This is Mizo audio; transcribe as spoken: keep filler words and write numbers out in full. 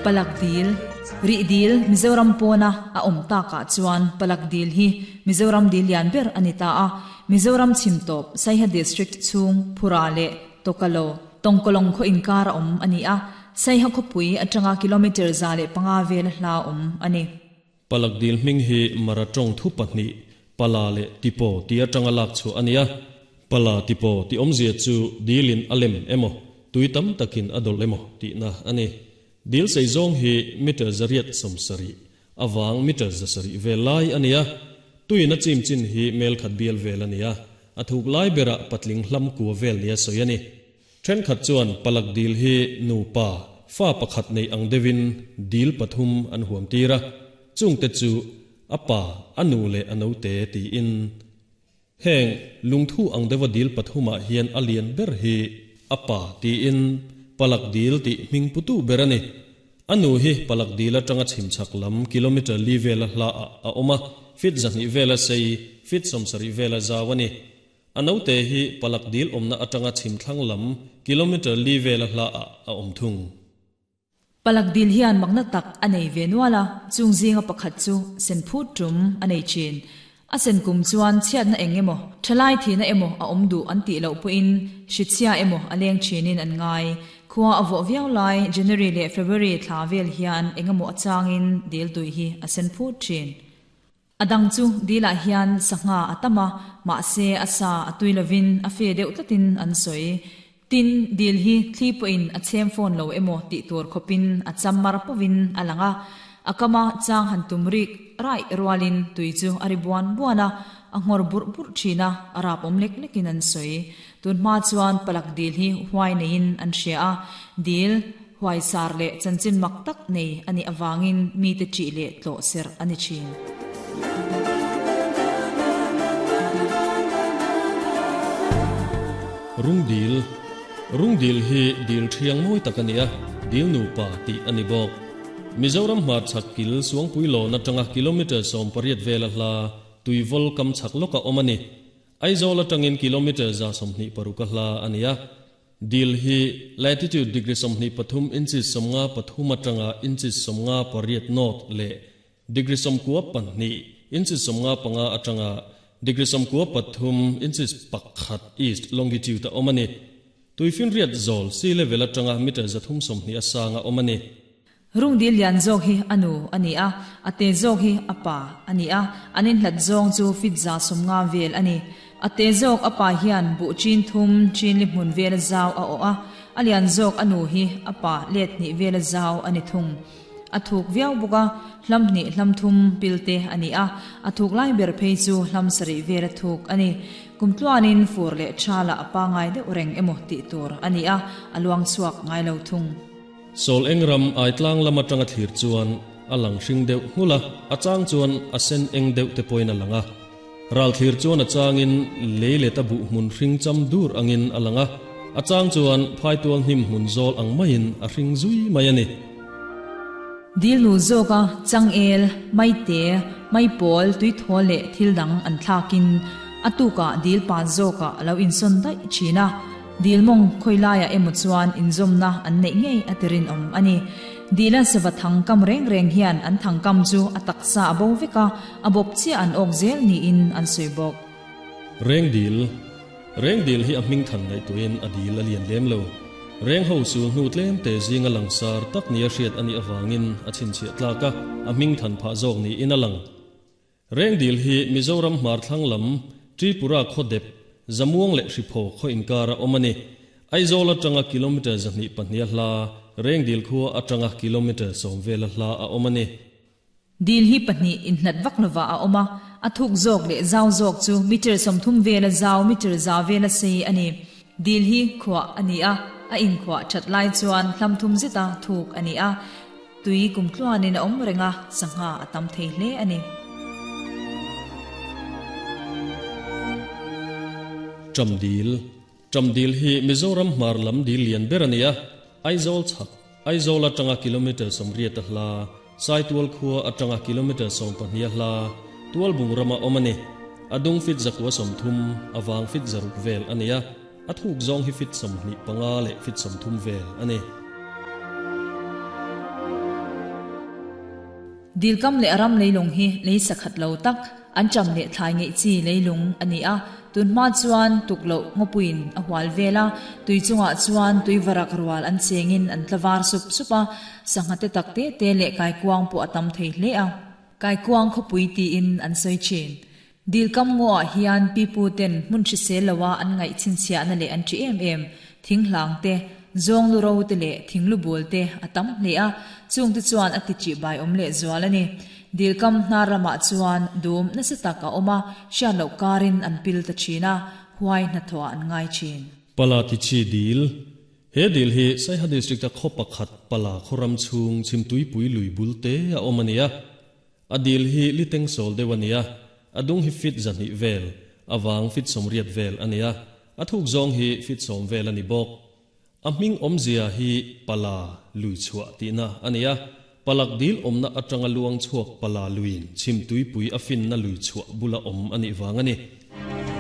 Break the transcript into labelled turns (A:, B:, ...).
A: Palak dil ri dil Mizoram pawna a awm takah chuan palak dil hi Mizoram dil lian ber ani ta a Mizoram chhimtawp Saiha district chhung Phura leh Tokalo Tongkolong khaw inkar a awm ani a Saiha khawpui atanga kilometer za leh panga vel hla awm ani.
B: Palak dil hming hi mara tawng thu pahnih pala leh tipo ti atanga lak chu ania pala tipo ti awmzia chu dilin alem emaw tuitam takin adol emaw ti na ani. Dil sei zong hi meter zariat somsari awang meter zasari velai ania tuina chim chin hi mel khat bial vel ania athuk lai bera patling hlam ku vel nia soyani then khat chuan palak dil hi nu pa fa pakhat nei ang devin dil pathum an huam tira chungte chu apa anu le anote ti in heng lungthu ang dewa dil pathuma hian alian ber hi apa ti in palak dil ti mingputu berani anu hi palak dil atanga chhimchak lam kilometer li vela hla a oma fit zahni vela sei fit somsari vela zawani anote hi palak dil omna atanga chhimthlang lam kilometer li vela hla a omthung.
A: Palak dil hian magna tak anei venuala chungzinga pakhat chu senphu tum anei chin a sen kum chuan chhiat na engemaw thalai thi na emaw a awm du an ti lo puin hrichhia emaw a leng thinin an ngai khua a vaw viau lai January leh February thla vel hian engemaw achangin dil tui hi a sen phut thin. Adang chu dila hian sangha atama ma se asa atui lovin a fe deuh tlatin an soi tin dil hi thli pawhin a chem phone lo emaw ti tur khopin a chammar pawin alanga akama chang han tumrik rai rualin tui chu ari buan buana a ngor bur bur thina arap om lek lekin an soi tun ma chuan palak dil hi huai nein an hria a dil huai sar le chanchin mak tak nei ani awangin mi te chi le tlo ser ani chin.
B: Rung dil rung dil hi dil thiang moi takania dil nu pa ti ani bok Mizoram hmar chak kil suangpui lo na tanga kilometer som pariat vela hla tuivol kam chak loka omani Aizawl atangin kilometer za somhni paruka hla ania dil hi latitude degree somhni pathum inches somnga pathum atanga inches somnga pariat north le degree somkua pahnih inches somnga panga atanga degree somkua pathum inches pakhat east longitude omani tuifin riat zol sea level atanga meter zathum somhni asanga omani.
A: Rung dil lian zawk hi anu ani a ate zawk hi apa ani a anin hlat zawng chu fit za somnga vel ani ate zawk apa hian bu chin thum chin li hmun vel zau a o a alian zawk anu hi apa let ni vel zau ani thung athuk viau buka hlam ni hlam thum pilte ani a athuk lai ber phei chu hlam sari vel thuk ani kumtluanin fur le thala apa ngai deuh reng emaw ti tur ani a aluang chuak ngai lo thung.
B: Sol engram ai tlang lama tanga thlir chuan alang hring deuh hmula achang chuan a sen eng deuh te poina langa ral thlir chuan achangin leile ta bu hmun hring cham dur angin alanga achang chuan phaitual hnim hmun zawl ang maiin a hring zui mai ani.
A: Dil nu zawka changel maite maipol tui thaw le thil dang an thlakin atuka dil pa zawka lo inson dai thina dilmong khoilaya emaw chuan inzawmna an nei ngei atirin awm ani dila sawa thangkam reng reng hian an thangkam chu a taksa a bo veka a bawp chiah an awk zel niin an sawi bawk.
B: Reng dil reng dil hi a hming than ngai tuin a dil a lian lem lo reng ho su hnu tlem te zinga langsar tak nia hriat ani awangin a chhinchhiah tlaka a hming than phah zawk ni in a lang reng dil hi Mizoram hmar thlang lam Tripura khaw dep zamuang le hripho khaw inkara omani Aizawl atanga kilometer zahni pahnih hla reng dil khua atanga kilometer sawm vel hla a omani.
A: Dil hi pahnih inhlat vak lova a oma a thuk zawk le zau zawk chu meter sawmthum vela zau meter za vela sei ani dil hi khua ani a a in khua that lai chuan hlam thum zeta thuk ani a tui kumtluanin a awm renga sangha a tam thei hle ani.
B: Tramdil Tramdil hi Mizoram hmar lam dil lian ber ania Aizawl chhak Aizawl atanga kilometer sawmriat a hla Saitual khua atanga kilometer sawm pahnih hla tual bung rama omani adung fit zakwa sawmthum awang fit zaruk vel ania a thuk zawng hi fit sawmhnih panga leh fit sawmthum vel ani.
A: Dil kam leh a ram leilung hi lei sakhat lo tak, an ṭam leh thlai ngeih chi leilung a ni a. Tunhma chuan tukloh ngawpuiin a hual vel a, tui chungah chuan tui varak rual an chengin an tla var sup sup a, sangha te tak te te leh kaikuang pawh a tam thei hle a. Kaikuang khawpui tiin an sawi thin. Dilkam ngawah hian pipu ten hmun hrisel loa an ngaih chhinchhiahna leh an ṭi em em, thing hlang te, zawng lu ro te leh thing lu bul te a tam hle a, chung te chuan a ti ṭih bai awm leh zual a ni. Dilkam hnar ramah chuan dum nasa tak a awm a, hriat loh karin an pil ta thin a, huai hnathawhah an ngai thin.
B: Pala Tichi Dil, He dil hi Saiha District-a khaw pakhat Pala khawram chhung Chhimtuipui lui bul te a awm a ni a. A dil hi liteng sawl deuh a ni a, a dung hi fit zahnih vel, a vang fit sawmriat vel a ni a, a thuk zawng hi fit sawm vel a ni bawk. A hming awmzia hi Pala lui chhuah tihna a ni a, Palak dil awmna atanga luang chhuak Pala luiin Chhimtuipui a finna lui chhuah bula awm a nih vang a ni.